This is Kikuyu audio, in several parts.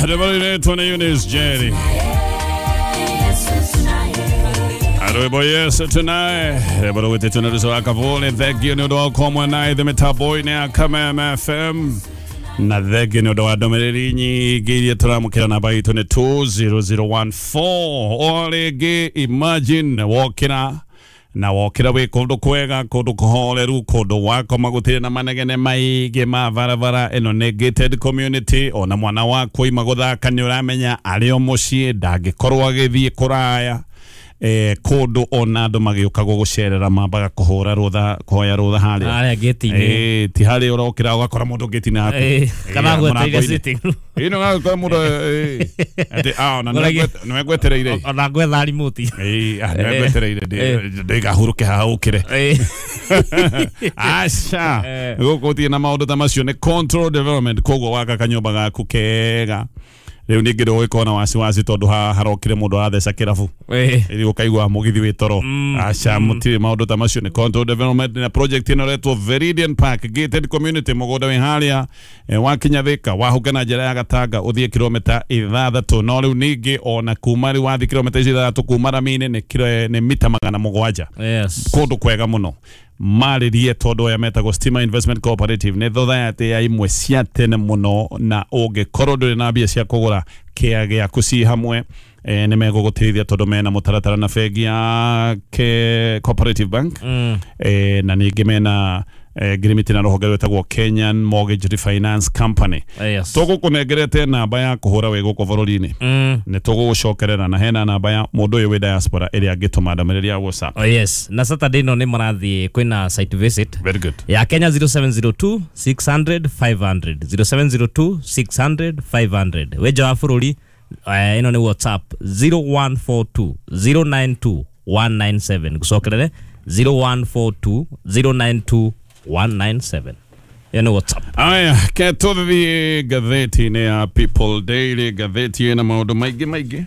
Rwĩmbo rũinĩtwo nĩ Eunice Jerry. Rwĩmbo Yesu tunaye, rwĩmbo rũgwĩtĩtwo nĩ Ruco wa Kavuli. Thengiũ nĩ ũndũ wa gũkorwo mwena ithe mĩtambo-inĩ ya Kameme FM, na thengiũ nĩ ũndũ wa ndũmĩrĩri nyingĩ iria tũramũkĩra. Namba itũ nĩ 20014. O rĩngĩ, imagine wokĩra na wokĩra wĩ kũndũ kwega, kũndũ kũhoreru, kũndũ wakoma gũtirĩ na manegene maingĩ ma barabara. Ĩno nĩ gated community, ona mwana waku oima gũthaka nĩ ũramenya arĩ o mũciĩ, ndangĩkorwo agĩthiĩ kũraya, kũndũ ona andũ magĩũka gũgũcerera mambaga kũhũra rũtha, kũhoya rũtha harĩa harĩa gate-inĩ. Ti harĩa ũrokĩra ũgakora mũndũ gate-inĩ haku. Kana gwetereire mũrango-inĩ. Sitting room. Ĩĩ, nĩ ũgakora mũndũ, atĩ ona nĩwe ngwetereire. Ona gwetha remote. Ĩĩ, nĩwe ngwetereire ndĩgahurũke haha ũkĩre. Aca, gũkũ gũtirĩ na maũndũ ta macio, nĩ control development. Koguo waka kanyũmba gaku kega, rĩu ningĩ ndũgũgĩkorwo na wasiwasi tondũ haha harokire mũndũ aratheca kĩrabu, ĩrĩ ũkaigua mũgithi wĩ toro. Aca, mũtirĩ maũndũ ta macio, nĩ control development. Na project ĩno ĩretwo Veridian Park gated community, mũgũnda wĩ harĩa, wakinya Thika wahũke na njĩra ya Gatanga ũthiĩ kilomita 6. No rĩu ningĩ ona kuma rĩu wathiĩ kilomita ici 6 kuma rami-inĩ nĩ nĩ mita 700. Kũndũ kwega mũno. Marĩrie tondũ aya metagwo Stima Investment Cooperative, nĩ society ya imwe cia tene mũno, na ũngĩkorwo ndũrĩ na mbia cia kũgũra kĩa gĩaku ci hamwe, nĩ megũgũteithia tondũ mena mũtaratara na bengi ya Cooperative Bank, na ningĩ mena ngirimiti na rũhonge rwĩtagwo Kenyan Mortgage Refinance Company. Tũgũkũnengerete namba ya kũhũra wĩ gũkũ bũrũri-inĩ, nĩ tũgũgũcokerera na hena namba ya mũndũ ũyũ wĩ diaspora ĩrĩa angĩtũma ndũmĩrĩri ya WhatsApp. Oh, yes, na Saturday no nĩ marathiĩ kwĩna site visit. Very good. Ya Kenya, 0702 600 500, 0702 600 500. Wĩ nja wa bũrũri, ĩno nĩ WhatsApp, 0142 092 197. Gũcokerere, 0142 092 197, ĩyo nĩ WhatsApp. Aya, ke tũthiĩ ngathĩti-inĩ ya People Daily, ngathĩti ĩna maũndũ maingĩ maingĩ,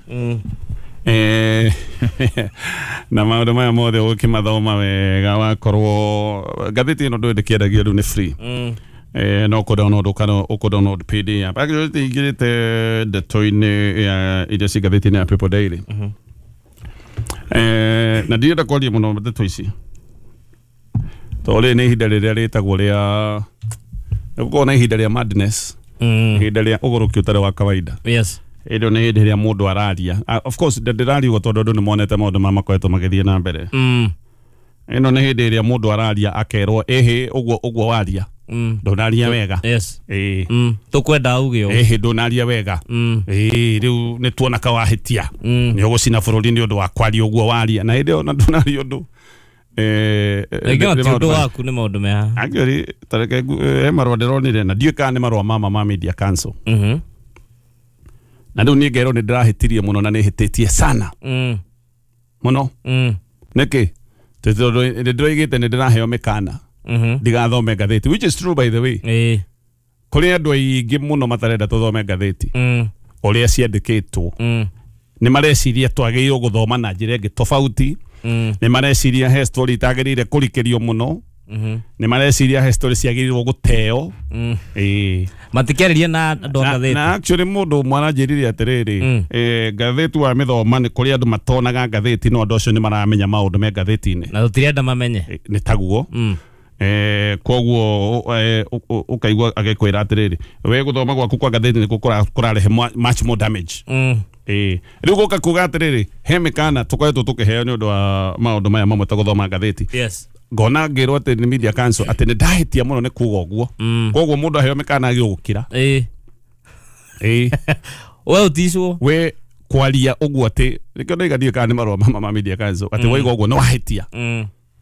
na maũndũ maya mothe ũgĩkĩmathoma wega wakorwo ngathĩti ĩno ndũĩ ndĩkĩendagio rĩu, nĩ free, no kũ download kana ũkũ download PDF. Actually ingĩrĩte ndeto-inĩ ya iria ci ngathĩti-inĩ ya People Daily, na ndirenda kwaria mũno ndeto ici tondũ rĩrĩ nĩ ihinda rĩrĩa rĩtagwo rĩa nĩ gũkorwo na ihinda rĩa madness, ihinda rĩa ũgũrũki ũtarĩ wa kawaida. Ĩyo nĩ hĩndĩ ĩrĩa mũndũ araria. Of course ndĩrariuga tondũ andũ nĩ monete maũndũ maya makoretwo magĩthiĩ na mbere. Ĩno nĩ hĩndĩ ĩrĩa mũndũ araria akerwo, ĩhĩ, ũguo ũguo waria, ndũnaria wega. Ĩĩ. Tũkwenda uge ũũ. Ĩhĩ, ndũnaria wega. Ĩĩ, rĩu nĩ tuona ka wahĩtia, nĩ ũgũcina bũrũri nĩ ũndũ wa kwaria ũguo waria, na hĩndĩ ĩyo na ndũnaria ũndũ. Rĩngĩ ona nĩ ti maũndũ ũndũ waku, nĩ maũndũ mea. Actually, tareke he marũa ndĩronire na ndiũĩ kana nĩ marũa ma Media Council, na rĩu niĩ ngerwo nĩ ndĩrahĩtirie mũno na nĩ hĩtĩtie sana mũno. Nĩkĩ? Tondũ nĩ ndĩroigĩte nĩ ndĩraheo mĩkana ndigathome ngathĩti, which is true, by the way. Kũrĩ andũ aingĩ mũno matarenda tũthome ngathĩti ũrĩa ciandĩkĩtwo. Nĩ mareciria twagĩrĩirwo gũthoma na njĩra ĩngĩ tofauti. Nĩ mareciria he story itagĩrĩire kũrikĩrio mũno. Nĩ mareciria he story ciagĩrĩirwo gũteo. Ĩĩ. Matikĩarĩria na andũ a Na, ngathĩti. na actually mũndũ ũmwe aranjĩrire atĩrĩrĩ, ngathĩti wa mĩthoma, nĩ kũrĩ andũ matonaga ngathĩti, no andũ acio nĩ maramenya maũndũ me ngathĩti-inĩ. Na tũtirenda mamenye. Nĩ taguo. Koguo ũkaigua agĩkwĩra atĩrĩrĩ, we gũthoma gwaku kwa ngathĩti nĩkuo kũrarehe much more damage. Rĩu gũka kuga atĩrĩrĩ, he mĩkana tũkoretwo tũkĩheo nĩ ũndũ wa maũndũ maya mamwe ta gũthoma ngathĩti. Ngona ngĩrwo atĩ nĩ Media Council atĩ nĩ ndahĩtia mũno nĩ kuga ũguo. Koguo mũndũ aheo mĩkana agĩrĩirwo gũkira. Ĩĩ. We ũticwo. We kwaria ũguo atĩ nĩkĩo ndaiga ndiũĩ kana nĩ marũa ma Media Council atĩ waiga ũguo nĩ wahĩtia.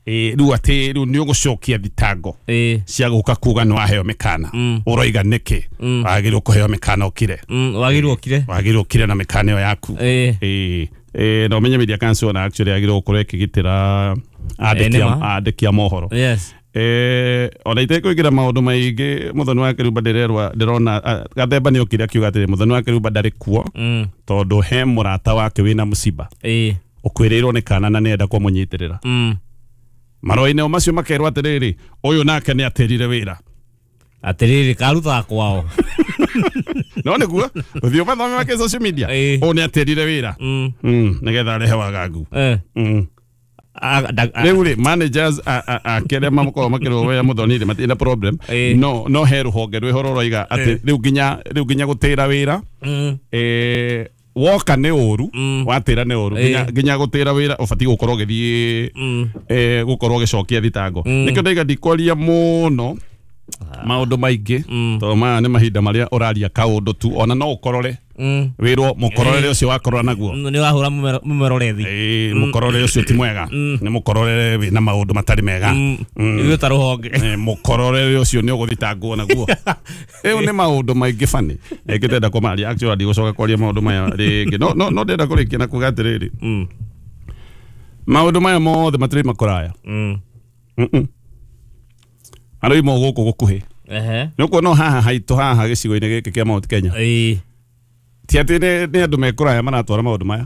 Ĩĩ, rĩu atĩ rĩu nĩ ũgũcokia thitango cia gũka kuga nĩ waheo mĩkana. Ũroiga nĩkĩ? Wagĩrĩirwo kũheo mĩkana ũkire. Wagĩrĩirwo ũkire. Wagĩrĩirwo ũkire na mĩkana ĩyo yaku. Ĩĩ. Na ũmenye Media Council ona actually yagĩrĩirwo gũkorwo ĩkĩgitĩra andĩki Nĩ ma. andĩki a mohoro. Ona itekũingĩra maũndũ maingĩ, Mũthoni wa Kĩrumba ndĩrerwa ndĩrona, Gathemba nĩ okire akiuga atĩrĩ, Mũthoni wa Kĩrumba ndarĩ kuo tondũ he mũrata wake wĩna mũciba ũkwĩrĩirwo nĩ kana na nĩenda kũmũnyitĩrĩra. Marũa-inĩ o macio makerwo atĩrĩrĩ, ũyũ nake nĩ atĩrire wĩra. Atĩrĩrĩ, karutaga kwao. No nĩguo ũthiĩ ũmathome make social media. Ũũ nĩ atĩrire wĩra nĩgetha arehe wagagu. Rĩu rĩ managers akĩrĩa makoragwo makĩrũa Muthoni rĩ matirĩ na problem. No he rũhonge rwĩho rũroiga atĩ rĩu nginya gũtĩra wĩra woka nĩ ũru watĩra nĩ ũru nginya gũtĩra wĩra ũbatiĩ gũkorwo ũgĩthiĩ gũkorwo ũgĩcokia thitango. Nĩkĩo ndaiga ndikwaria mũno maũndũ maingĩ tondũ maya nĩ mahinda marĩa ũraria kaũndũ tu ona no ũkorore wĩrwo mũkororere ũcio wakorora naguo nĩ wahũra mũmerorethi. Mũkororere ũcio ti mwega, nĩ mũkororere wĩna maũndũ matarĩ mega. Ithuĩ ta rũhonge mũkororere ũcio nĩ ũgũthitangwo naguo. Rĩu nĩ maũndũ maingĩ bani ĩngĩtenda kũmaria actually ndigũcoka kwaria maũndũ maya rĩngĩ. No ndĩrenda kũrĩkia na kuga atĩrĩrĩ, maũndũ maya mothe matirĩ makũraya. Arĩ mo gũkũ gũkuhĩ. Nĩ ũkuona no haha haitũ haha gĩcigo-inĩ gĩkĩ kĩa Mount Kenya. Ti atĩ nĩ andũ mekũraya maratwara maũndũ maya.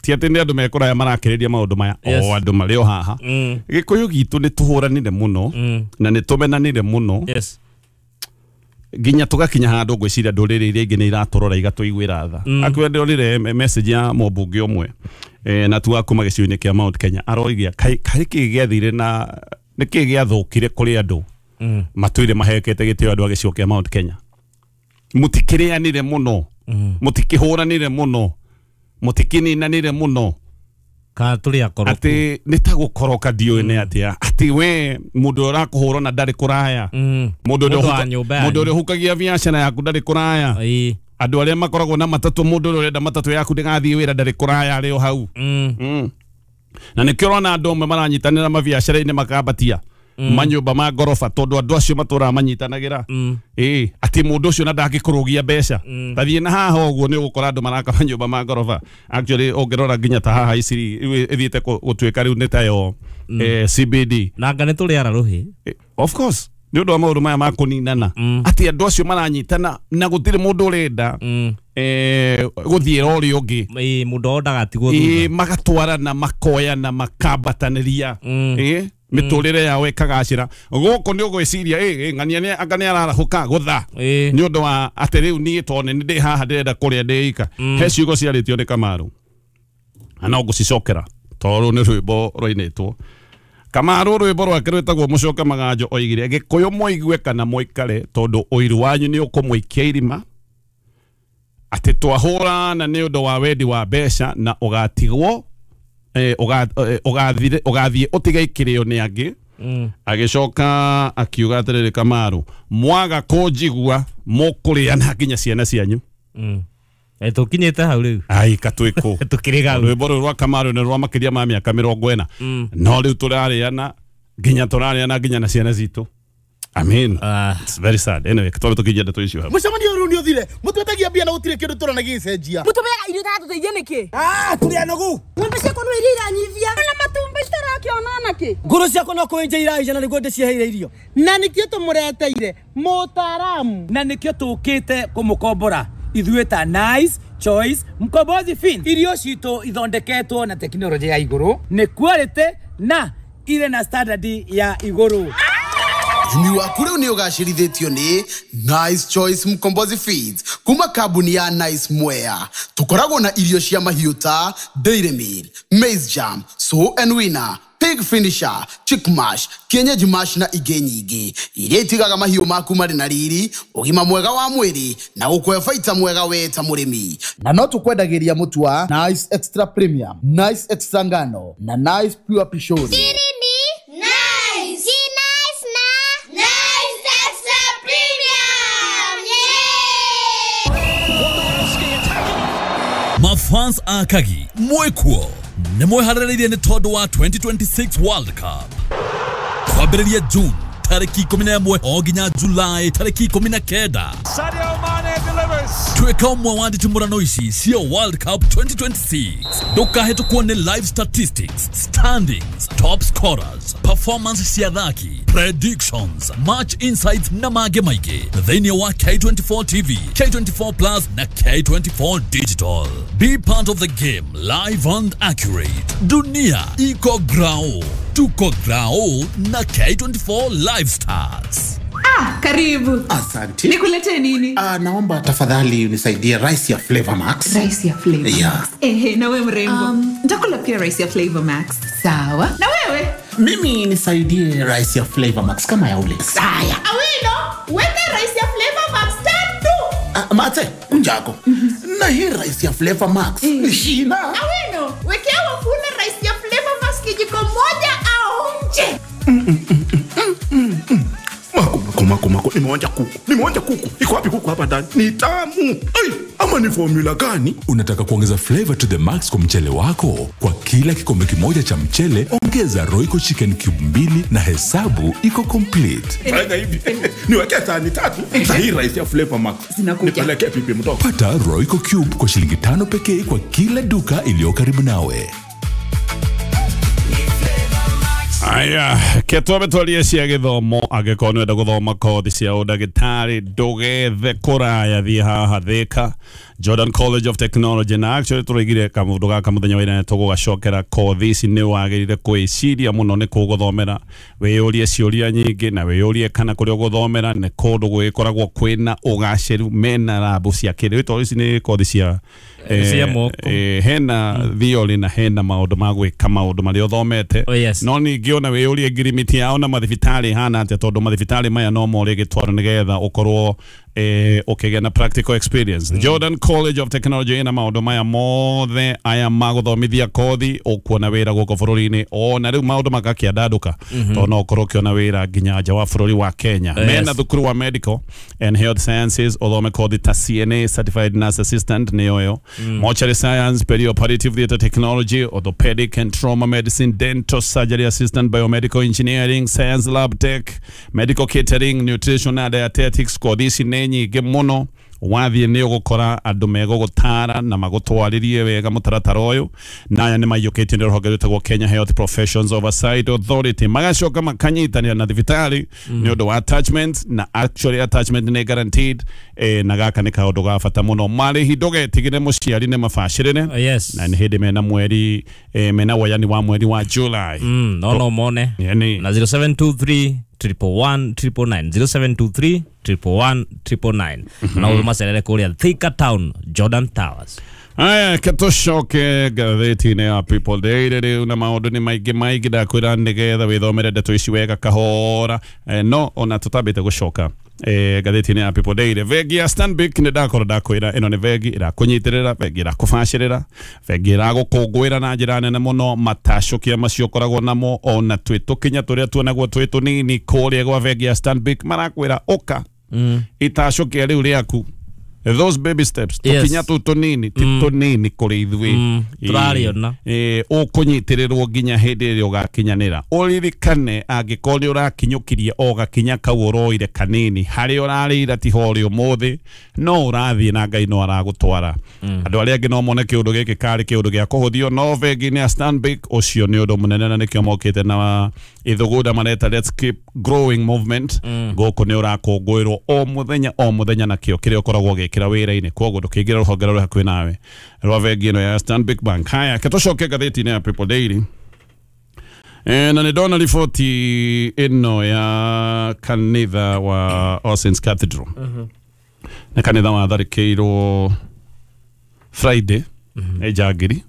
Ti atĩ nĩ andũ mekũraya marakĩrĩria maũndũ maya. O andũ marĩ o haha. Gĩkũyũ gitũ nĩ tũhũranire mũno na nĩ tũmenanire mũno. Nginya tũgakinya handũ ngwĩciria ndũrĩrĩ iria ingĩ nĩ iratũrora igatũiguĩra tha. Akuwe ndĩrorire message ya mũmbunge ũmwe na tu kuma gĩcigo-inĩ kĩa Mount Kenya aroigia kaĩ kĩĩ gĩathire na nĩ kĩĩ gĩathũkire kũrĩ andũ matũire mahekete gĩtĩo andũ a gĩcigo kĩa Mount Kenya. Mũtikĩrĩanire mũno, mũtikĩhũranire mũno, mũtikĩninanire mũno. Kana tũrĩ akoroku. Atĩ nĩ ta gũkoroka ndiũĩ nĩ atĩa. Atĩ we mũndũ ũrĩa ũrakũhũra na ndarĩ kũraya, mũndũ ũrĩa ũhukagia biacara yaku ndarĩ kũraya, andũ arĩa makoragwo na matatũ, mũndũ ũrĩa ũrenda matatũ yaku ndĩgathiĩ wĩra ndarĩ kũraya arĩ o hau. Na nĩkĩo ũrona andũ amwe maranyitanĩra mabiacara-inĩ makambatia manyũmba ma ngoroba tondũ andũ acio matũraga manyitanagĩra. Atĩ mũndũ ũcio na ndangĩkũrũgia mbeca. Tathiĩ na haha ũguo nĩ ũgũkora andũ maraka manyũmba ma ngoroba. Actually ũngĩrora nginya ta haha Isiri ĩthiĩte gũtuĩka rĩu nĩ tayo CBD. Na anga nĩ tũrĩ ara rũhĩ. Of course nĩ ũndũ wa maũndũ maya ma kũninana. Atĩ andũ acio maranyitana na gũtirĩ mũndũ ũrenda gũthiĩra ũrĩa ũngĩ. Mũndũ o ndagatigwo thutha. Magatwarana makoyana makambatanĩria. Mĩtũrĩre yao ĩkagacĩra. Gũkũ nĩ ũgwĩciria ng'ania nĩ anga nĩ ararahũka gũtha nĩ ũndũ wa atĩ rĩu niĩ tondũ nĩ ndĩ haha ndĩrenda kũrĩa ndĩika. He ciugo ciarĩtio nĩ Kamaru na no ngũcicokera tondũ nĩ rwĩmbo rwainĩtwo. Kamaru rwĩmbo rwake rwĩtagwo Mũcoke Maganjo oigire Gĩkũyũ mũigue kana mũikare tondũ ũiru wanyu nĩ ũkũmũikia irima, atĩ twahũrana nĩ ũndũ wa wendi wa mbeca na ũgatigwo ũgathiĩ ũtige ikĩrĩo nĩ angĩ. Agĩcoka akiuga atĩrĩrĩ Kamaru, mwaga kũnjigua mũkũrĩana nginya ciana cianyu. Tũkinyĩte hau rĩu. Ai katwĩkũ. Tũkĩrĩ hau. Rwĩmbo rũrũ rwa Kamaru nĩ rwa makĩria ma mĩaka 40. No rĩu tũrarĩana nginya na ciana citũ. I mean, it's very sad. Anyway, twambe tũkinyie ndeto icio hau. Mũcemanio ũyũ nĩ ũthire. Mũtwetagia mbia na gũtirĩ kĩndũ tũrona gĩgĩcenjia. Mũtũmeaga irio itatũteithia nĩkĩ? Tũrĩ anogu. Ng'ombe ciakwa no iria iranyivia. Na matumbĩ citarakĩona nakĩ? Ngũrũ ciakwa no kũenja iraija na nĩguo ndĩciheire irio. Na nĩkĩo tũmũreteire mũtaaramu. Na nĩkĩo tũkĩte kũmũkombora ithuĩ ta Nice Choice Mkombozi Fin. Irio citũ ithondeketwo na tekinoronjĩ ya igũrũ, nĩ quality na irĩ na standard ya igũrũ. Ũrĩmi waku rĩu nĩ ũgacĩrithĩtio nĩ Nice Choice Mkombozi Feeds kuma kambuni ya Nice Mwea. Tũkoragwo na irio cia mahiũ ta Dairy Meal, Maize Jam, Sow and Winner, Pig Finisher, Chick Mash, Kienyeji Mash na ingĩ nyingĩ iria itigaga mahiũ maku marĩ na riri, ũgima mwega wa mwĩrĩ na gũkũhe baita mwega we ta mũrĩmi. Na no tũkwendagĩria mũtu wa Nice Extra Premium, Nice Extra Ngano na Nice Pure Pishori. Mafans akagi mwekuo nĩ mweharĩrĩirie nĩ tondũ wa 2026 World Cup kwambĩrĩria June tarĩki 11 o nginya July tarĩki 19. Sadio Mane delivers. Tuĩka ũmwe wa nditimũrano ici cia World Cup 2026. Ndũkahĩtũkwo nĩ live statistics, standings, top scorers, performance cia athaki, predictions, match insights na mangĩ maingĩ thĩinĩ wa K24 TV, K24 Plus na K24 Digital. Be part of the game live and accurate. Dunia iko grao, tuko grao na K24 Live Stars. Karibu. Asante. Nikuletee nini? Naomba tafadhali unisaidie rice ya Flavor Max. Rice ya Flavor Max. Yeah. Ehe, na wewe mrembo. Nitakula pia rice ya Flavor Max. Sawa. Na wewe? Mimi nisaidie rice ya Flavor Max kama ya ule. Saya. Awino, weka rice ya Flavor Max tatu. Mate, unjako. Na hii rice ya Flavor Max. Shina. Awino, wekea wafula rice ya Flavor Max kijiko moja aonje. Mako, nimeonja kuku. Iko wapi kuku hapa ndani? Ni tamu. Ai, ama ni formula gani? Unataka kuongeza flavor to the max kwa mchele wako? Kwa kila kikombe kimoja cha mchele, ongeza Royco Chicken Cube 2 na hesabu iko complete. Fanya hivi. Niwekee sahani 3 za hii rice ya Flavor Max. Nipelekee pipi mtoto. Pata Royco Cube kwa shilingi 5 pekee kwa kila duka iliyo karibu nawe. Aya, ketwabe twarie cia githomo angĩkorwo nĩwenda gũthoma kothi cia ũndagĩtarĩ ndũgethe kũraya thiĩ haha Thika Jordan College of Technology. Na actually tũraigire kamũndũ gaka mũthenya wa ira tũgũgacokera kothi ici nĩ wagĩrĩire kwĩciria mũno nĩ kũgũthomera wĩyũrie ciũria nyingĩ na wĩyũrie kana kũrĩa ũgũthomera nĩ kũndũ gwĩkoragwo kwĩna ũgacĩru mena rabu cia kĩrĩu tondũ ici nĩ kothi cia hena theory na hena maũndũ ma gwĩka maũndũ marĩa ũthomete. No ningĩ ona wĩyũrie ngirimiti yao na mathibitarĩ hana atĩa tondũ mathibitarĩ maya no morĩ gĩtwaro nĩgetha ũkorwo ũkĩgĩa na practical experience. Jordan College of Technology ina maũndũ maya mothe aya magũthomithia kothi ũkuona wĩra gũkũ bũrũri-inĩ ona rĩu maũndũ magakĩandandũka tondũ no ũkorwo ũkĩona wĩra nginya nja wa bũrũri wa Kenya. Mena thukuru wa medical and health sciences ũthome kothi ta CNA certified nurse assistant nĩyo ĩyo, mortuary science, perioperative theatre technology, orthopedic and trauma medicine, dental surgery assistant, biomedical engineering, science lab tech, medical catering, nutrition and dietetics. Kothi ici nĩ nyingĩ mũno wathiĩ nĩ ũgũkora andũ megũgũtara na magũtwarĩrie wega mũtaratara ũyũ na aya nĩ maiyũkĩtio nĩ rũhonge rwĩtagwo Kenya Health Professions Oversight Authority magacoka makanyitanĩra na thibitarĩ nĩ ũndũ wa attachment na actually attachment nĩ guaranteed na gaka nĩ kaũndũ ga bata mũno marĩhi ndũgetigĩre mũciari nĩ mabacĩrĩre. Yes. Na nĩ hĩndĩ mena mweri mena woyani wa mweri wa July. No mone na 0723 111 999 0723 111 999 na umacerere kuria Thika Town Jordan Towers. Aya, ketũcoke ngathĩti-inĩ ya People Daily rĩu na maũndũ nĩ maingĩ maingĩ ndakwĩra nĩgetha wĩthomere ndeto ici wega kahora no ona tũtambĩte gũcoka ngathĩti-inĩ ya People Daily bengi ya Stanbic nĩ ndakorwo ndakwĩra ĩno nĩ bengi ĩrakũnyitĩrĩra bengi ĩrakũbacĩrĩra bengi ĩragũkũngũĩra na njĩra nene mũno matacũkia macio ũkoragwo namo ona twĩ tũkinya tũrĩa tuonagwo twĩ tũnini kũrĩa gwa bengi ya Stanbic marakwĩra ũka itacũkia rĩu rĩaku those baby steps tukinya tu tunini ti tunini kuri ithuĩ turariona ũkũnyitĩrĩrwo nginya hĩndĩ ĩrĩa ũgakinyanĩra ũririkane angĩkorwo nĩ ũrakinyũkirie o gakinya kau ũroire kanini harĩa ũrarĩira tiho ũrĩ ũmũthĩ no ũrathiĩ na Ngai no aragũtwara. Andũ arĩa angĩ no mone kĩũndũ gĩkĩ karĩ kĩũndũ gĩa kũhũthio no bengi-inĩ ya Stanbic ũcio nĩ ũndũ mũnene na nĩkĩo mokĩte na ithugunda mareta Let's Keep Growing Movement gũkũ nĩ ũrakũngũĩrwo o mũthenya na kĩo kĩrĩa ũkoragwo ũgĩkĩra wĩra-inĩ koguo ndũkĩingĩra rũhonge rũrĩa hakuhĩ nawe rwa bengi ĩno ya Stanbic Bank. Haya, ketũcoke ngathĩti-inĩ ya People Daily na nĩ ndona riboti ĩno ya kanitha wa All Saints Cathedral. Nĩ kanitha watharĩkĩirwo Friday nĩ njangiri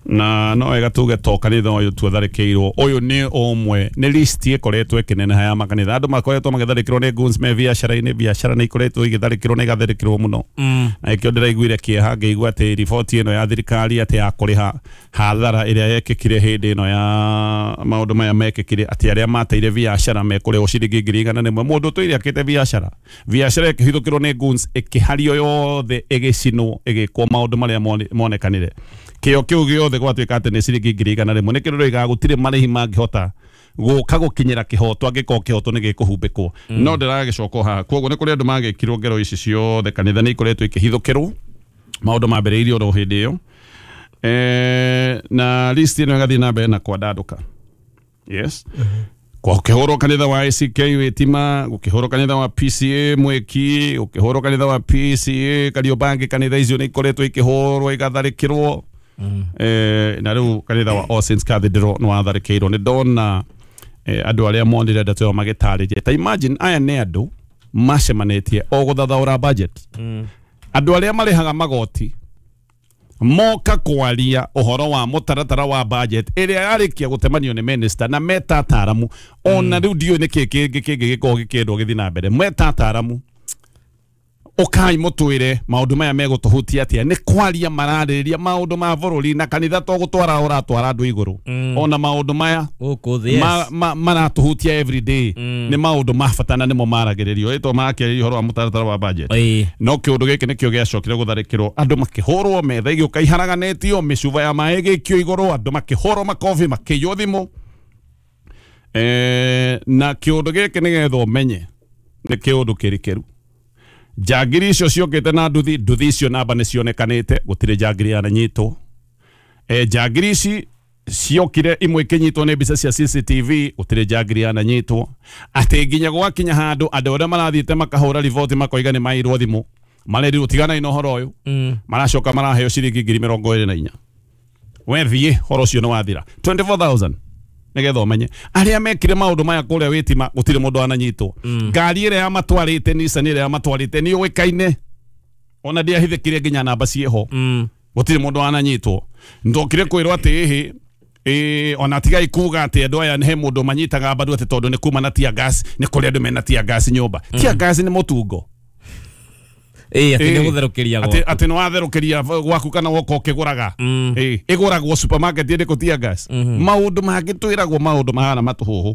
na no wega tuge to kanitha ũyũ tu atharĩkĩirwo ũyũ nĩ ũmwe nĩ list ĩkoretwo ĩkĩneneha ya makanitha andũ makoretwo magĩtharĩkĩrwo nĩ goons me biacara-inĩ biacara nĩ ikoretwo igĩtharĩkĩrwo na igatharĩkĩrwo mũno na ĩkĩo ndĩraiguire kĩeha ngĩigua atĩ riboti ĩno ya thirikari atĩ ya kũrĩha hathara ĩrĩa yekĩkire hĩndĩ ĩno ya maũndũ maya mekĩkire atĩ arĩa mateire biacara mekũrĩhwo ciringi 100,000 mũndũ ũtũire akĩte biacara biacara ĩkĩhithũkĩrwo nĩ goons ĩkĩhario yothe ĩgĩcinwo ĩgĩkwo maũndũ marĩa monekanire kĩo kĩu gĩothe gwatuĩka atĩ nĩ ciringi 100,000 nĩ kĩrĩa ndĩroiga gũtirĩ marĩhi mangĩhota gũka gũkinyĩra kĩhoto angĩkorwo kĩhoto nĩ gĩkũhumbĩkwo no ndĩragĩcoka haha koguo nĩ kũrĩ andũ magĩkirwo ngero ici ciothe kanitha nĩ ikoretwo ikĩhithũkĩrwo maũndũ mambĩrĩirio oro hĩndĩ ĩyo na list ĩno ĩgathiĩ na mbere na kwandandũka. Yes. Gũkĩhũrwo kanitha wa ACK Witima, gũkĩhũrwo kanitha wa PCA Mwiki, gũkĩhũrwo kanitha wa PCA Kariobangi kanitha icio nĩ ikoretwo ikĩhũrwo igatharĩkĩrwo na rĩu kanitha wa All Saints Cathedral nĩ watharĩkĩirwo nĩ ndona Andũ arĩa monire ndeto ĩyo magĩtarĩria ta imagine aya nĩ andũ macemanĩtie o gũthathaũra budget. Andũ arĩa marĩhaga magoti moka kwaria ũhoro wa mũtaratara wa budget ĩrĩa yarĩkia gũtemanio nĩ minister na meta ataramu ona rĩu ndiũĩ nĩkĩ kĩngĩ kĩngĩ gĩkoragwo gĩkĩendwo gĩthiĩ na mbere meta ataramu ũkai mũtwĩre maũndũ maya megũtũhutia atĩa nĩ kwaria mararĩrĩria maũndũ ma bũrũri na kanitha to gũtwara ũratwara andũ igũrũ ona maũndũ maya maratũhutia every day nĩ maũndũ ma bata na nĩmo maragĩrĩrio ĩtwo marakĩarĩria ũhoro wa mũtaratara wa budget no kĩũndũ gĩkĩ nĩkĩo gĩacokire gũtharĩkĩrwo andũ makĩhũrwo metha ĩgĩũka iharaganĩtio mĩcuba ya maĩ ĩgĩikio igũrũ andũ makĩhũrwo makobi makĩiywo thimũ na kĩũndũ gĩkĩ nĩgetha ũmenye nĩ kĩũndũ kĩrikĩru. Njangiri icio ciokĩte na nduthi icio namba nĩ cionekanĩte gũtirĩ njangiri yananyitwo. Njangiri ici ciokire imwe ikinyitwo nĩ mbica cia CCTV gũtirĩ njangiri yananyitwo. Atĩ nginya gwakinya handũ andũ arĩa marathiĩte makahũra riboti makoiga nĩ mairwo thimũ marerirwo tiganai na ũhoro ũyũ maracoka maraheo ciringi 24,000. We thiĩ ũhoro ũcio nĩ wathira 24,000 nigetha umenye aria mekire maundu maya kuria witima gutire mundu ananyitwo. Ngari ira ya matwarite Nissan ira ya matwarite ni uikaine ona ndiahithikire nginya namba ciho gutire mundu ananyitwo. Ndokire kwirwo ati ihi ona tigai kuga ati andu aya he mundu manyitaga mbaru ati tondu ni kuma na tear gas ni kuri andu mena tear gas nyumba. Tear gas ni mutungo ati nĩ gũtherũkĩria gwaku ati nĩ watherũkĩria gwaku kana woka ũkĩgũraga ĩgũragwo supermarket ĩrĩkũ tear gas. Maũndũ mangĩ twĩragwo maũndũ mahana matũhũhũ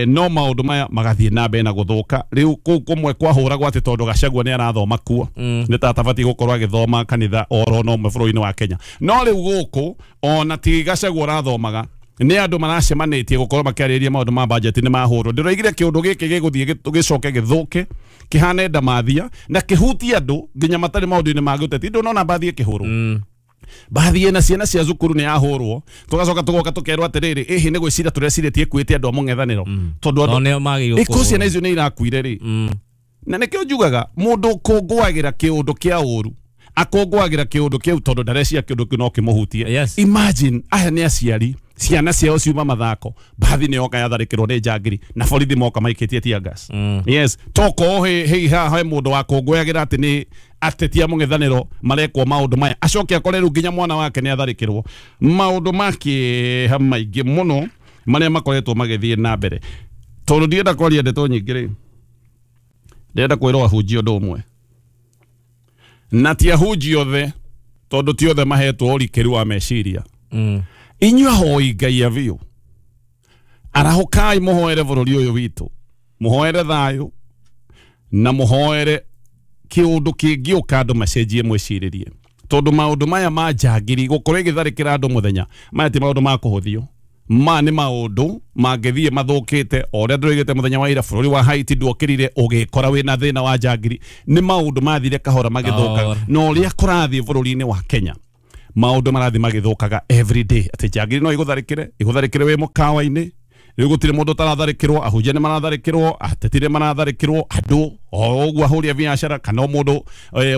no maũndũ maya magathiĩ na mbere na gũthũka. Rĩu kũu kũmwe kwahũragwo atĩ tondũ Gachagua nĩ arathoma kuo nĩ ta atabatiĩ gũkorwo agĩthoma kanitha oro no ũmwe bũrũri-inĩ wa Kenya. No rĩu gũkũ ona ti Gachagua ũrathomaga nĩ andũ maracemanĩtie gũkorwo makĩarĩrĩria maũndũ ma budget nĩ mahũrwo. Ndĩroigire kĩũndũ gĩkĩ gĩgũthiĩ gĩcoke gĩthũke kĩhane ndamathia na kĩhutie andũ nginya matarĩ maũndũ-inĩ ma gĩũteti. Ndũnona mbathi ĩkĩhũrwo mbathi ĩna ciana cia cukuru nĩ yahũrwo tũgacoka tũgoka tũkerwo atĩrĩrĩ ĩhĩ nĩ gwĩciria tũrecirĩtie ĩkuĩte andũ a mũng'ethanĩro tondũ andũ ĩkũ ciana icio nĩ irakuire rĩ. Na nĩkĩo njugaga mũndũ ũkũngũagĩra kĩũndũ kĩa ũru akũngũagĩra kĩũndũ kĩu tondũ ndarecia kĩũndũ kĩu no kĩmũhutie. Imagine aya nĩ aciari ciana ciao ciuma mathako mbathi nĩ yoka yatharĩkĩrwo nĩ njangiri na borithi moka maikĩtie tear gas. Yes toko he haha he mũndũ wa kũngũyagĩra atĩ nĩ ateti a mũng'ethanĩro marekwo maũndũ maya acoke akore rĩu nginya mwana wake nĩ atharĩkĩrwo. Maũndũ ma kĩeha maingĩ mũno marĩa makoretwo magĩthiĩ na mbere. Tondũ ndienda kwaria ndeto nyingĩ rĩ ndĩrenda kwĩrwo ahunjia ũndũ ũmwe na ti ahunjia othe tondũ ti othe mahetwo ũrikĩru wa meciria. Inyuĩ ahoi Ngai a biũ arahũkai mũhoere bũrũri ũyũ witũ mũhoere thayũ na mũhoere kĩũndũ kĩngĩũka andũ macenjie mwĩcirĩrie tondũ maũndũ maya ma njangiri gũkorwo ĩgĩtharĩkĩra andũ mũthenya maya ti maũndũ ma kũhũthio ma nĩ maũndũ mangĩthiĩ mathũkĩte o ũrĩa ndĩroigĩte mũthenya wa ira bũrũri wa Haiti ndwokĩrire ũgĩkora wĩna thĩna wa njangiri nĩ maũndũ mathire kahora magĩthũkaga na ũrĩa kũrathiĩ bũrũri-inĩ wa Kenya maũndũ marathiĩ magĩthũkaga every day atĩ njangiri no igũtharĩkĩre igũtharĩkĩre wĩ mũkawa-inĩ rĩu gũtirĩ mũndũ ũtaratharĩkĩrwo ahunjia nĩ maratharĩkĩrwo ateti nĩ maratharĩkĩrwo andũ o ũguo ahũri a biacara kana o mũndũ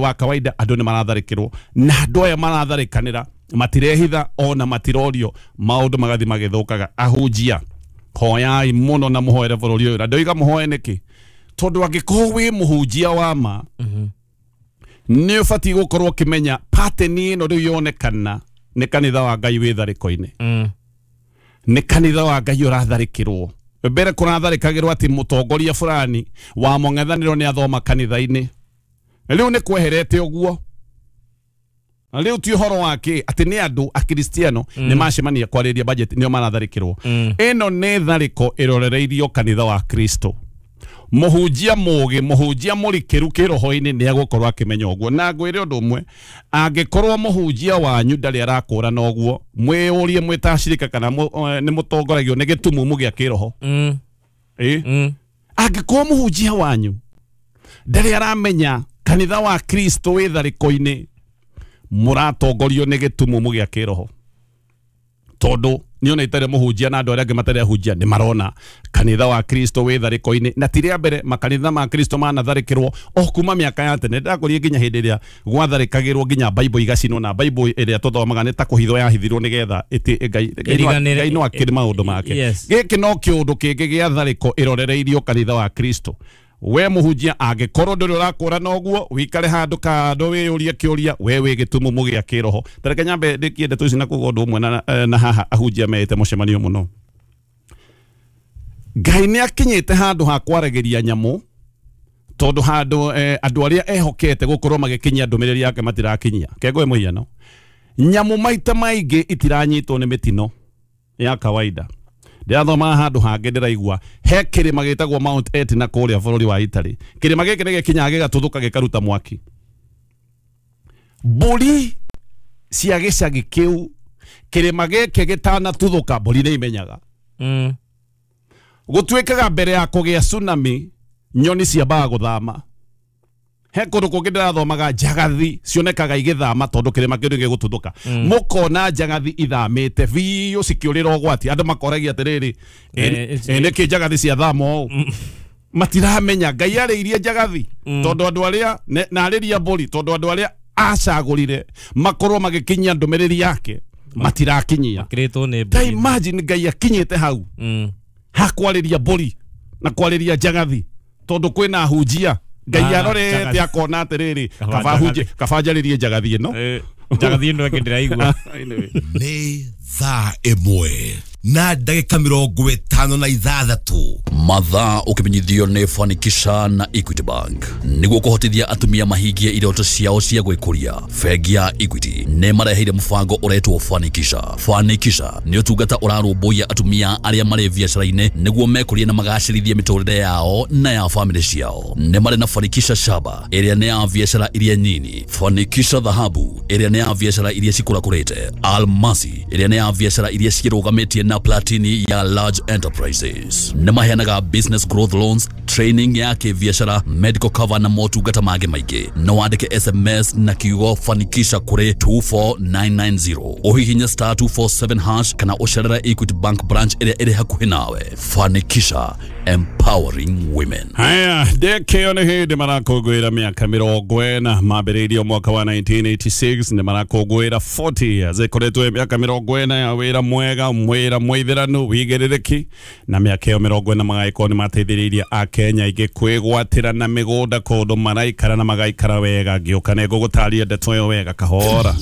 wa kawaida andũ nĩ maratharĩkĩrwo na andũ aya maratharĩkanĩra matirehitha ona matirorio maũndũ magathiĩ magĩthũkaga. Ahunjia hoyai mũno na mũhoere bũrũri ũyũ na ndoiga mũhoe nĩkĩ tondũ angĩkorwo wĩ mũhunjia wa ma nĩ ũbatiĩ gũkorwo ũkĩmenya pattern ĩno rĩu yonekana nĩ kanitha wa Ngai wĩ tharĩko-inĩ. Nĩ kanitha wa Ngai ũratharĩkĩrwo mbere kũratharĩkagĩrwo atĩ mũtongoria fulani wa mũng'ethanĩro nĩ athoma kanitha-inĩ rĩu nĩ kweherete ũguo rĩu ti ũhoro wake atĩ nĩ andũ akristiano nĩ macemania kwarĩria budget nĩo maratharĩkĩrwo. Ĩno nĩ tharĩko ĩrorereirio kanitha wa Kristo. Mũhunjia mũũgĩ mũhunjia mũrikĩru kĩroho-inĩ nĩ egũkorwo akĩmenya ũguo na ngwĩre ũndũ ũmwe angĩkorwo mũhunjia wanyu ndarĩ arakũrana ũguo mwĩyũrie mwĩ ta acirika kana nĩ mũtongoragio nĩ gĩtumumu gĩa kĩroho. Angĩkorwo mũhunjia wanyu ndarĩ aramenya kanitha wa Kristo wĩ tharĩko-inĩ mũratongorio nĩ gĩtumumu gĩa kĩroho Tondu niona itarĩ mũhunjia na andũ arĩa angĩ matarĩ ahunjia nĩ marona kanitha wa Kristo wĩ tharĩko-inĩ, na ti rĩa mbere makanitha ma Kristo manatharĩkĩrwo o kuma mĩaka ya tene. Ndakũrie nginya hĩndĩ ĩrĩa gwatharĩkagĩrwo nginya Bible igacinwo, na Bible ĩrĩa tũthomaga nĩ ta kũhithwo yahithirwo nĩgetha Ngai no akĩrĩ maũndũ make. Gĩkĩ no kĩũndũ kĩngĩ gĩa tharĩko ĩrorereirio kanitha wa Kristo. We mũhunjia angĩkorwo ndũrĩ ũrakũra noguo wikare handũ kando wĩyũrie kĩũria we wĩ gĩtumumu gĩa kĩroho. Tareke nyambe ndĩkie ndeto ici na kuga ũndũ ũmwe na haha ahunjia meĩte mũcemanio mũno. Ngai nĩ akinyĩte handũ ha kwaragĩria nyamũ tondũ handũ andũ arĩa ehokete gũkorwo magĩkinyia ndũmĩrĩri yake matirakinyia. Kengwe mũhiano, nyamũ maita maingĩ itiranyitwo nĩ mĩtino ya kawaida. Ndĩrathoma handũ hangĩ ndĩraigua he kĩrĩma gĩtagwo Mount Etna kũrĩa bũrũri wa Italy. Kĩrĩma gĩkĩ nĩ gĩkinyaga gĩgatuthũka gĩkaruta mwaki. Mbũri cia gĩcagi kĩu kĩrĩma gĩkĩ gĩtanatuthũka mbũri nĩ imenyaga. Gũtuĩkaga mbere ya kũgĩa tsunami nyoni ciambaga gũthama. He kũndũ kũngĩ ndĩrathomaga njagathi cionekaga igĩthama tondũ kĩrĩma kĩu nĩgĩgũtuthũka. Mũkona njagathi ithamĩte biũ cikĩũrĩra ũgwati. Andũ makoragia atĩrĩrĩ, nĩkĩ njagathi ciathama ũũ? Matiramenya Ngai arĩirie njagathi tondũ andũ arĩa na arĩria mbũri tondũ andũ arĩa acagũrire makorwo magĩkinyia ndũmĩrĩri yake matirakinyia. Ta imagine Ngai akinyĩte hau hakwarĩria mbũri na kwarĩria njagathi tondũ kwĩna ahunjia. Ngai arorete akona atĩrĩrĩ, kaba njarĩrie njagathi ĩno. Njagathi ĩno ĩngĩ ndĩraigua. Nĩ thaa 1 na ndagĩka 56. Mathaa ũkĩmenyithio nĩ Fanikisha na Equity Bank nĩguo kũhotithia atumia mahingie iroto ciao cia gwĩkũria. Bengi ya Equity nĩ mareheire mũbango ũretwo Fanikisha. Fanikisha nĩ ũtungata ũrarũmbũiya atumia arĩa marĩ biacara-inĩ nĩguo mekũrie na magacĩrithie mĩtũrĩre yao na ya famĩlĩ ciao. Nĩ marĩ na Fanikisha Shaba ĩrĩa nĩ ya biacara iria nyini, Fanikisha Dhahabu ĩrĩa nĩ ya biacara iria cikũrakũrĩte, Almasi ĩrĩa nĩ ya biacara iria cirũgamĩtie na Platini ya large enterprises. Nĩ maheanaga business growth loans, training ya kĩbiacara, medical cover na motungata mangĩ maingĩ. No wandĩke SMS na kiugo Fanikisha kũrĩ 24990, ũhihinye star 247 hash kana ũcerere Equity Bank branch ĩrĩa ĩrĩ hakuhĩ nawe. Fanikisha, empowering women. Haya, ndekĩo nĩ hĩndĩ marakũngũĩra mĩaka 40 mambĩrĩirio mwaka wa 1986 nĩ marakũngũĩra 40 years. Ĩkoretwo mĩaka 40 ya wĩra mwega, wĩra mwĩthĩranu, wĩigĩrĩrĩki, na mĩaka ĩyo 40 magagĩkorwo nĩ mateithĩrĩirie Akenya aingĩ kwĩgwatĩra na mĩgũnda kũndũ maraikara na magaikara wega. Ngĩũka nĩ ngũgũtaria ndeto ĩyo wega kahora.